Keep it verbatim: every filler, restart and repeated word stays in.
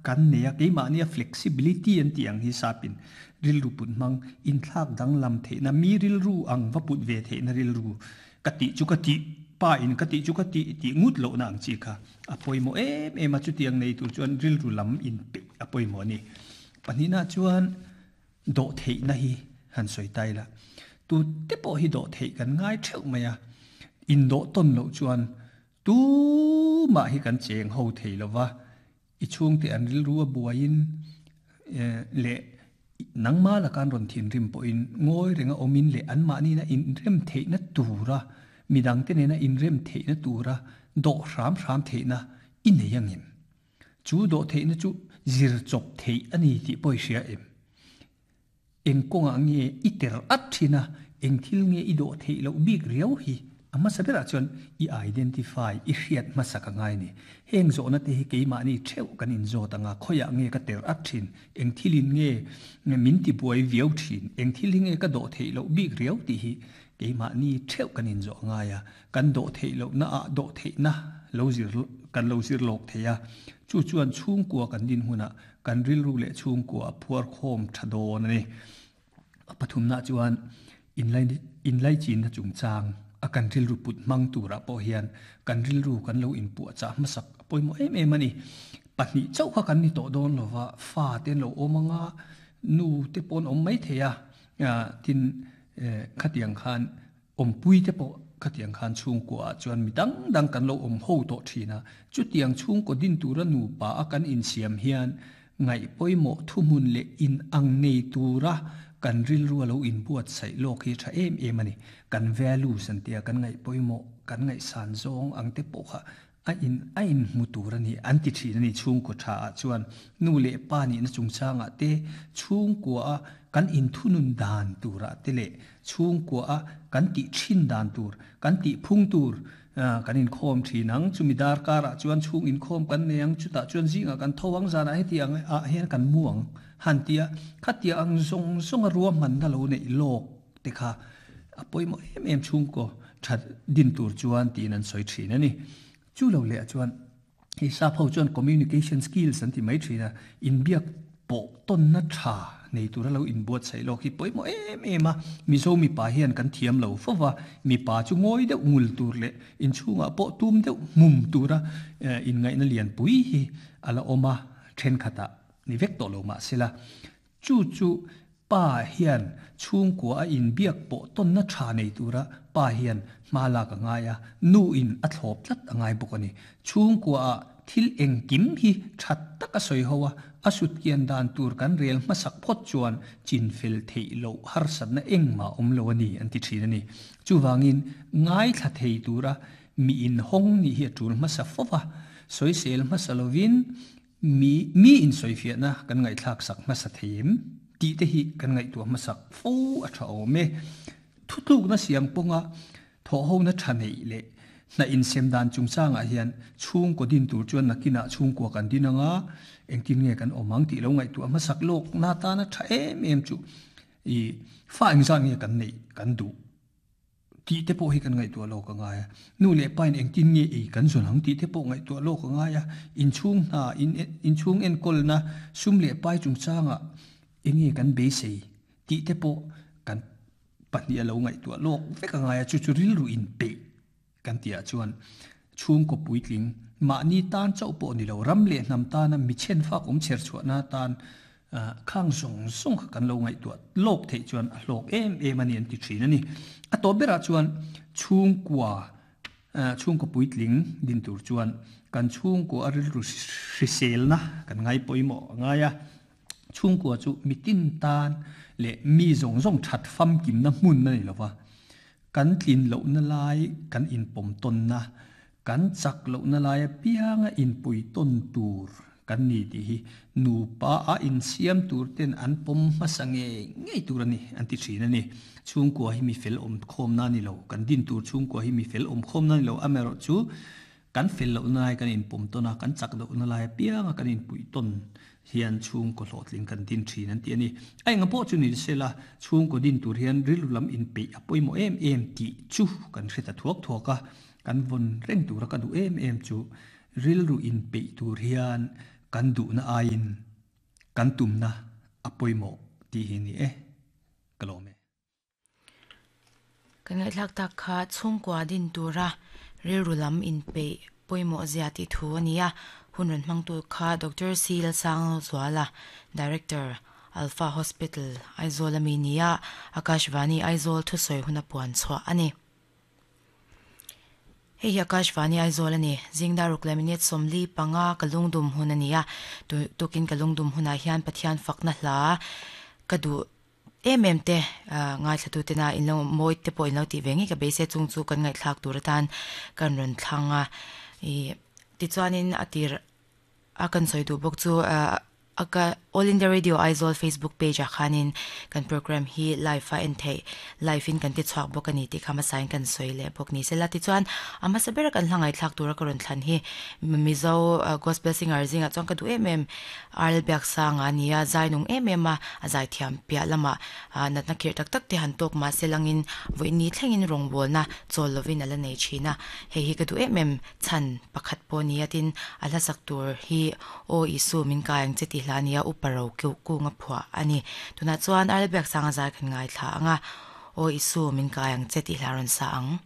kan neia keimahnia flexibility an ti ang hi sapin rilru put mang in thlak dang lam theihna mi rilru ang va put ve theihna rilru ka ti chu ka ti pa in ka ti chu ka ti ti ngut lo na ang chi kha a pawimawh em em a chu tiang nei tur chuan rilru lam in pe a pawimawh ni pahnihna chuan do theihna hi han sawi tai la tu te pawh hi do theih kan ngai theuh mai a in do ton lo chuan tu ma hi kan cheng ho thei lova i chung te an rilru a buain le nangma la kan ron thin rim pawh in ngoi renga omin le an mahni na in rem theihna tura midang te nena in rem theihna tura do hram hram theihna i nei angem chu do theihna chu zir chop thei ani ti pawh hria em eng kawnga nge i ter at thina eng thil nge i do theih lo bik riau hi ama sabera chuan i identify i hriat hmasa ka ngai ni heng zawhna te hi keimahni theuh kan in zawt anga khoya nge ka ter at thin eng thilin nge min ti buai viau thin eng thil hi nge ka do theih lo bik riau ti hi keimahni theuh kan in zawh ngai a kan do theih lo na a do theih na lo zir kan lo zir lok theia chu chuan chhungkua kan din huna kan rilru leh chhungkua phuar khawm tha dawn ani pathum na chuan in lai in lai chin na chungchang a kan rilru put mang tura pawh hian kan rilru kan lo in pu cha hmasak pawimawh em em ani pahnih chauh kha kan ni tawh dawn lova fa ten lo awmanga nu te pawn awm mai theia tin khatiang khan awmpui te pawh khatiang khan chhungkua chuan mi dang dang kan lo awm ho tawh thina chutiang chhungkaw din tura nu pa a kan insiam hian ngai pawimawh thuhmun leh in ang nei tura kan rilru lo in buat sai lok hi tha em em ani kan values an tia kan ngai pawimawh kan ngai san zawng ang te pawh kha a in a in hmu tur ani an ti thin ani chhungkaw tha ah chuan nu leh pa ni na chungchanga te chhungkua a kan in thunun dan tura te le chhungkua a kan ti thin dan tur kan ti phung tur kan in khawm thin ang chumi dar kar ah chuan chhung in khawm kan nei ang chutah chuan zinga kan thawang zana heti ang a hian kan muang han tia khatia ang zong zong a ruam man na lo nei lok te kha a pawimawh em em chhungkaw that din tur chuan tin an sawi thin ani chu lo le chuan hi sa pho chuan communication skills an ti mai thina in biak pawh ton na tha nei tur lo in buat sai lo hi pawimawh em em a mizo mi pa hian kan thiam lo fova mi pa chu ngoi deuh ngul tur le in chhunga pawh tum deuh mum tura in ngai na lian pui hi ala oma then khata ni vek to lo ma sela chu chu pa hian chhungkua a in biak pawh ton na tha nei tura pa hian hma la ka ngai a nu in a thlawp tlat a ngai bawk ani chhungkua a thil eng kim hi that taka soi hoa a sut kian dan tur kan rel hmasak phawt chuan chin fel thei lo har satna engma awm lo ani an ti thin ani chuwangin ngai thla thei tura mi in hong ni hi a tul hmasa fowa soi sel hmasa lovin mi mi in soi fiah na kan ngai thlak sak hmasa theim ti te hi kan ngai tu hmasak fo a tha awm e thutluk na siam ponga tho ho na tha nei le na in sem dan chungchanga hian chhung ko din tur chuan nakina chhung ko kan dinanga engtin nge kan omang ti lo ngai tu hmasak lok na ta na tha em em chu i fa eng zan nge kan nei kan du ti te pawh hi kan ngai tu lo ka ngai nu le pain engtin nge ei kan zon hang ti te pawh ngai tu lo ka ngai a in chhung na in in chhung en kol na sum le pai chungchanga enge kan be sei ti te pawh kan pahnih lo ngai tu lok vek ngai a chu chu ril ru in pe kan tia chuan chhung ko puitling mahni tan chau pawh ni lo ram le hnam ta na mi chen fak um cher chhuah na tan khang zong zong kha kan lo ngai tu lok thei chuan a hlok em em ani an ti thin ani a to bera chuan chhung kwa chhung ko puitling din tur chuan kan chhung ko a ril ru hrisel na kan ngai pawimawh ngai a chhung kwa chu mitin tan le mi zong zong that fam kim na hmun na ni lova kan tlin lo na lai kan in pom ton na kan chak lo na lai pianga in pui ton tur kan ni ti hi nu pa a in siam tur ten an pom hmasange ngei tur ani an ti thin ani chhung kwa hi mi fel om khom na ni lo kan din tur chhung kwa hi mi fel om khom na ni lo amero chu kan fel lo na lai kan in pom ton a kan chak lo na lai pianga kan in pui ton hian chhung ko hlawhtling kan din thin an ti ani ai nga pawh chu ni sela chhung ko din tur hian rilru lam in pe a pawimawh em em ti chu kan hreta thuak thuak a kan vawn reng tura ka duh em em chu rilru in pe tur hian Kan duhna aiin kan tumna a pawimawh tih hi ni e. Ka lawm e. Kan ngaihthlak tak kha chhungkua din tura rilru lam inpeih pawimawh zia tih thu a ni a. Hun rawn hmangtu kha Doctor C Lalsangzuala, Director, Alpha Hospital, Aizawl ami nia Akashvani Aizawl thusawi huna puan chhuah a ni. Hei hi Akashvani Aizawl a ni. Zingdar ruk leh minute sawmli panga ka lungdum hun a ni a. Tukin ka lungdum hunah hian Pathian fakna hla ka duh em em te ngaithla tena in lo mawi te pawh in lo tih ve ngei ka beisei chung chu kan ngaihthlak tur atan kan rawn thlang a. Ih tichuanin a tir a kan sawi duh bawk chu aka All India Radio Aizawl Facebook page ah khanin kan program hi live a en theih live in kan ti chhuak bawk a ni tih kha hmasa in kan sawi leh bawk ni sela. Tichuan a hmasa bera kan hla ngaihthlak tura ka rawn thlan hi Mizo gospel singer zingah chuan ka duh em em Arl Biaksanga a ni a, zai nung em em a, a zai thiam piah lamah natna khirh tak tak te han tawk mah se langin vawiin ni thlengin rawngbawlna chawl lovin a la nei thin a, hei hi ka duh em em chhan pakhat pawh a ni a, tin a hlasak tur hi Aw Isu min kai ang che tih hla a ni a, Upa ro kung a phuah a ni. Tunah chuan Arl Biaksanga zai kan ngaithla ang a, Aw Isu min kai ang che tih hla a rawn sa ang.